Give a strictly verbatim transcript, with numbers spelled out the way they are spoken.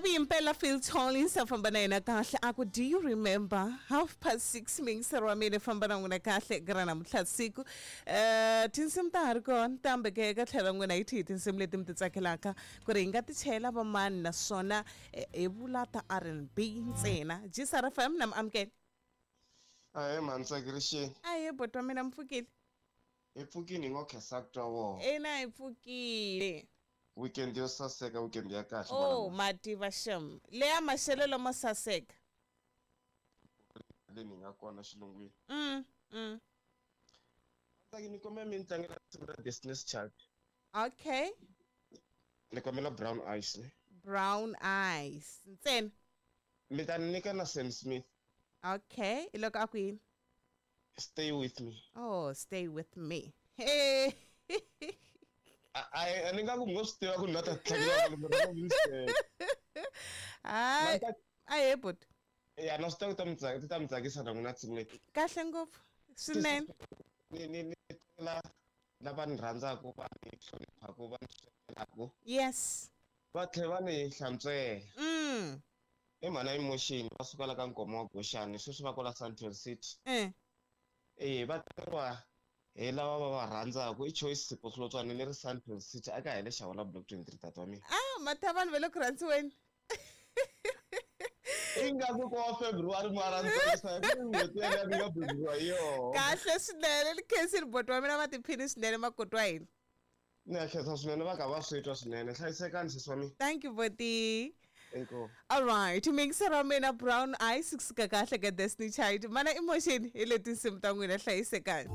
Impela Phil Collins a famba na yena kahle a ku do you remember half past six mingiseri wa mina famba na n'wina kahle ka ra namuntlha siku um tinsimu ta ha ri kona kambe ke ka tlhelo ra n'wina hi tihi tinsimu leti mi ti tsakelaka ku ri hi nga ti chela vamani naswona eh, hi vula ta R and B ntsena G S R F M na mi amukela. Ahee mhani Tsakirixeni. Ahee boti wa mina, mi pfukile? Hi pfukini, hi ngo khensa ku twa vona. Ina, hi pfukile. Weekend yo saseka, weekend ya kahle. Oh, mativa xem leya maxelo lomo saseka. Leyi ni nga kona xilungwini. mm, mm. Tsaki, ni kombela mi ni tlangela nsimu ra Destiny's Child. Okay. Ni kombela Brown Eyes ne. Brown Eyes ntsena? Mi ta ni nyika na Sam Smith. Okay, loko a ku yini? Stay With Me. Oh, Stay With Me, hey. A a ni nga ku mi ngo swi tiva ku ni la ta tlangela. Hayi, ahee boti. Ya, na swi tiva ku ta mi tsaki, ti ta mi tsakisa na n'wina nsimu leti. Kahle ngopfu swinene. Ni ni ni tlangela lava ni rhandzaka, va ni hloniphaka, va ni swekelaku, yes va tlhela va ni hlantswela. mm. I mhana Emotion, va suka la ka Nkoma wa Goxani, sweswi va kwala Sandton City. Eh. Eh, va tlangeriwa hi lava va va rhandzaka, i Choice Sipho ni ri Sandton City aka hi le Xawula Block twenty-three, tata wa mina. Ah, mathavani va le ku rhandziweni. Ingaku ko wa February mara ni tsakisa hi ku n'hweti yaleyo ni nga beburiwa hi yoho. Kahle swinene, ni khensile boti wa mina, va tiphini swinene makoti wa hina. Ni ya khensa swinene, va ka va swi twa swinene. Hlayisekani, sesi wa mina. Thank you, boti. Inkomu. Alright, mixer wa mina, Brown Eyes kusuka kahle ka Destiny Child, mana Emotion, hi leti tinsimu ta n'wina. Hlayisekani.